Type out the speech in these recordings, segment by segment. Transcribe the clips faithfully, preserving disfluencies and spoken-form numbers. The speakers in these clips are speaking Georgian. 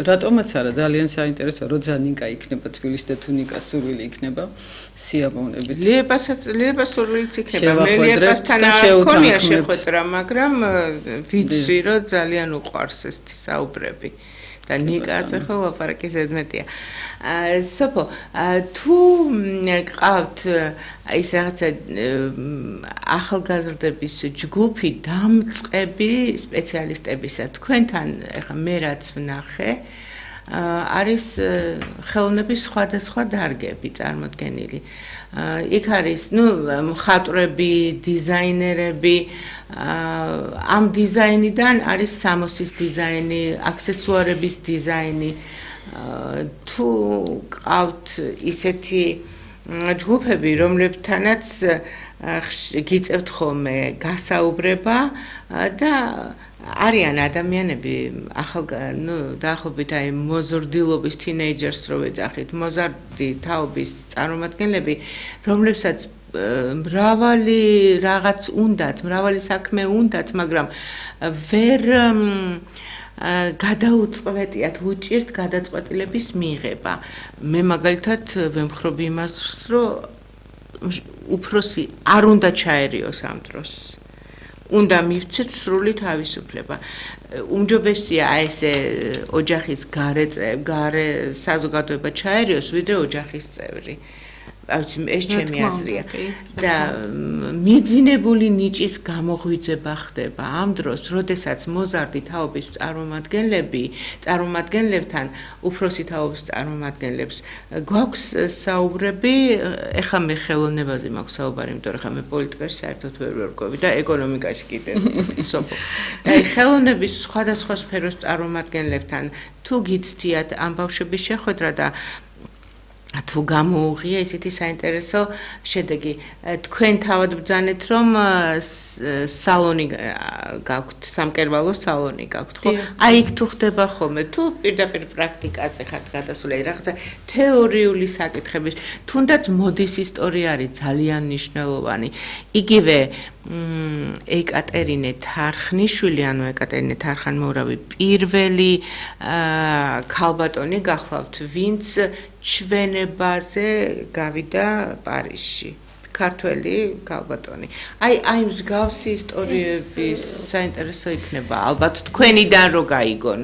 რატომაც არა ძალიან საინტერესო როცა ნიკა იქნება თბილისში და თუ ნიკა სურვილი იქნება სიამოვნებით ლიებასაც ლიება სურვილიც იქნება მე ლიებასთან არ შეხვედრა მაგრამ ვიცი რომ ძალიან უყვარს ეს საუბრები და ნიკაზე ხო ლაპარაკი ზედმეტია სოფო თუ ყავთ ის რაღაცა ახალგაზრდების ჯგუფი დამწყები სპეციალისტებისა თქვენთან ეხა მე რაც ვნახე არის ხელოვნების სხვადასხვა დარგები წარმოდგენილი იქ არის ნუ მხატვრები დიზაინერები ამ დიზაინიდან არის სამოსის დიზაინი აქსესუარების დიზაინი თუ ყავთ ისეთი ჯგუფები რომლებთანაც გიწევთ ხოლმე გასაუბრება და არიან ადამიანები ახალ ნუ დაახლოებით აი მოზრდილობის თინეიჯერს რო ვეძახით მოზარდი თაობის წარმომადგენლები რომლებსაც მრავალი რაღაც უნდათ მრავალი საქმე უნდათ მაგრამ ვერ გადაუწყვეტიათ უჭირთ გადაწყვეტილების მიღება მე მაგალითად ვემხრობ იმას რომ უფროსი არ უნდა ჩაერიოს ამ დროს უნდა მივცეთ სრული თავისუფლება უმჯობესია ესე ოჯახის გარე გარე საზოგადოება ჩაერიოს ვიდრე ოჯახის წევრი ავიცი ეს ჩემი აზრია და მიძინებული ნიჭის გამოღვიძება ხდება ამ დროს როდესაც მოზარდი თაობის წარმომადგენლები წარმომადგენლებთან უფროსი თაობის წარმომადგენლებს გვაქვს საუბრები ეხლა მე ხელოვნებაზე მაქვს საუბარი იმიტომ რომ ხა მე პოლიტიკაში საერთოდ ვერ ვერკვევი და ეკონომიკაში კიდე სოფო და ხელოვნების სხვადასხვა სფეროს წარმომადგენლებთან თუ გიცდიათ ამ ბავშვების შეხვედრა და თუ გამოუღია ისეთი საინტერესო შედეგი თქვენ თავად ბრძანეთ რომ სალონი გაქვთ სამკერვალო სალონი გაქვთ ხო აი იქ თუ ხდება ხოლმე თუ პირდაპირ პრაქტიკაზე ხართ გადასული რაღაცა თეორიული საკითხების თუნდაც მოდის ისტორია არის ძალიან მნიშვნელოვანი იგივე ეკატერინე თარხნიშვილი ანუ ეკატერინე თარხანმოურავი პირველი ქალბატონი გახლავთ ვინც ჩვენებაზე გავიდა პარიზში ქართველი ქალბატონი აი აი მსგავსი ისტორიების საინტერესო იქნება ალბათ თქვენიდან რო გაიგონ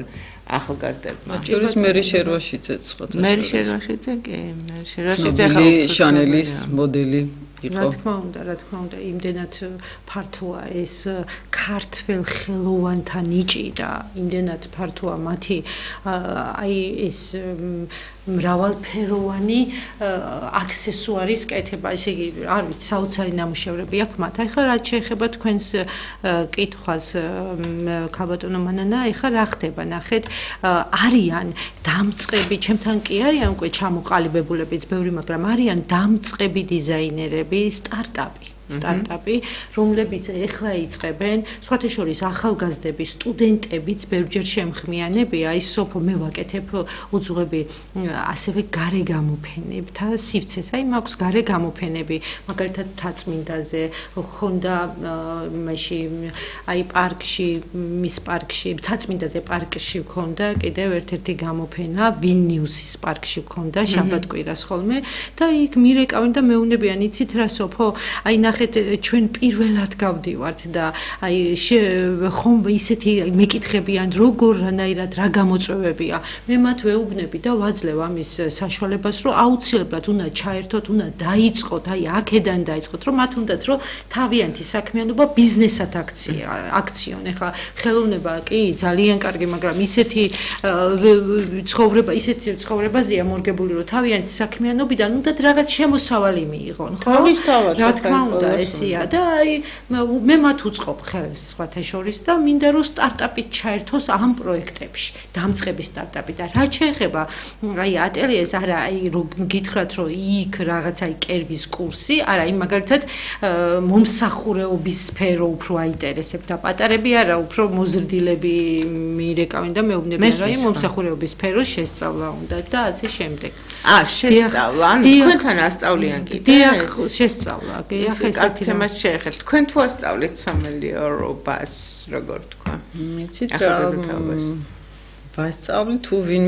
ახალგაზრდებმა ჯერის მერი შერვაშიძე ცხოთ მერი შერვაშიძე კი მერი შერვაშიძე შანელის მოდელი რა თქმა უნდა, რა თქმა უნდა, იმდენად ფართოა ეს ქართველ ხელოვანთა ნიჭი და იმდენად ფართოა მათი აი ეს მრავალფეროვანი აქსესუარის კეთება, ესე იგი, არ ვიცი, საოცარი ნამუშევრები აქვს მათ. ახლა რაც შეეხება თქვენს კითხვას, ქალბატონო მანანა, ახლა რა ხდება, ნახეთ, არიან დამწყები, ჩემთან კი არიან უკვე ჩამოყალიბებულებიც ბევრი, მაგრამ არიან დამწყები დიზაინერები, სტარტაპი. სტარტაპი, რომლებიც ეხლა იწყებენ, სხვათა შორის ახალგაზრდები, სტუდენტებიც ბევრჯერ შემხმიანებია, ის სოფო მე ვაკეთებ უძღვები ასევე გარე გამოფენებთა სივრცეს, აი მაქვს გარე გამოფენები, მაგალითად თაწმინდაზე, ხონდა მაშინ აი პარკში, მის პარკში, თაწმინდაზე პარკში ხონდა კიდევ ერთ-ერთი გამოფენა, ვილნიუსის პარკში ხონდა შაბათ-კვირას ხოლმე და იქ მირეკავენ და მეუნებიან, იცით რა სოფო, აი ჩვენ პირველად გავდივართ და აი ხომ ისეთი მეკითხებიან როგორნაირად რა გამოწვევებია მე მათ ვეუბნები და ვაძლევ ამის საშუალებას რომ აუცილებლად უნდა ჩაერთოთ უნდა დაიწყოთ აი აქედან დაიწყოთ რომ მათ უნდათ რომ თავიანთი საქმიანობა ბიზნესად აქციონ ეხლა ხელოვნება კი ძალიან კარგი მაგრამ ისეთი ცხოვრება ისეთი ცხოვრებაზეა მორგებული რომ თავიანთი საქმიანობიდან უნდათ რაღაც შემოსავალი მიიღონ ხო რა თქმა უნდა ესია და აი მე მათ უწყობ ხელს სხვათა შორის და მინდა რომ სტარტაპით ჩაერთოს ამ პროექტებში დამწყები სტარტაპი და რაც შეეხება აი ატელიეს არა აი რომ გითხრათ რომ იქ რაღაც აი კერვის კურსი არა აი მაგალითად მომსახურეობის სფერო უფრო აინტერესებს და პატარები არა უფრო მოზრდილები მიირეკავენ და მეუბნებიან რომ აი მომსახურეობის სფერო შესწავლა უნდა და ასე შემდეგ აა შესწავლა ანუ თქვენთან ასწავლიან კიდე დიახ შესწავლა კი ახლა ესეთი თემას შეეხეთ თქვენ თუ ასწავლეთ სამელიორობას როგორ თქვა მიცით რა ვასწავლი თუ ვინ